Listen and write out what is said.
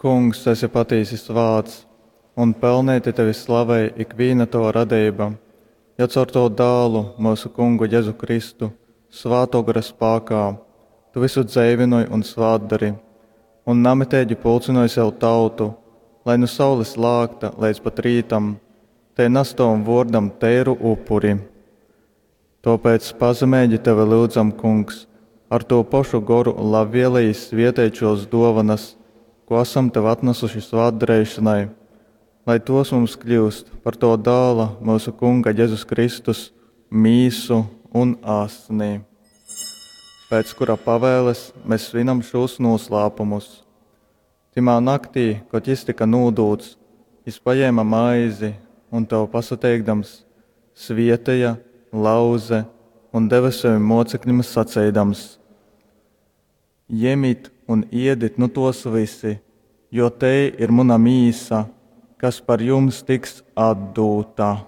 Kungs, esi patīsi svāts, un pelneiti tevi slavej ikvīna tova radeiba, jo caur tovu Dālu, myusu Kungu Jezu Kristu, Svātō Gora spākā, tu vysu dzeivynoj un svātdori, un namiteigi pulcynoj sev tautu, lai nu saules lākta leidz pat rītam tei nas tovam vōrdam teiru upuri. Tōpēc pazemeigi tevi lyudzam, Kungs, ar tū pošu Goru labvieleji svēteit šōs dōvonas, kū asam tev atnasuši svātdareišonai, lai tōs mums kļyust par tova Dāla, myusu Kunga Jezus Kristus, mīsu un asni, pēc kura pavēles mes svinam šūs nūslāpumus. Tymā naktī, kod jys tyka nūdūts, jys pajēme maizi un, tev pasateikdams, svieteja, lauze un deve sovim mōceklim saceidams, Jemit un iedit nu tōs vysi, jo tei ir muna mīsa, kas par jums tiks atdūta.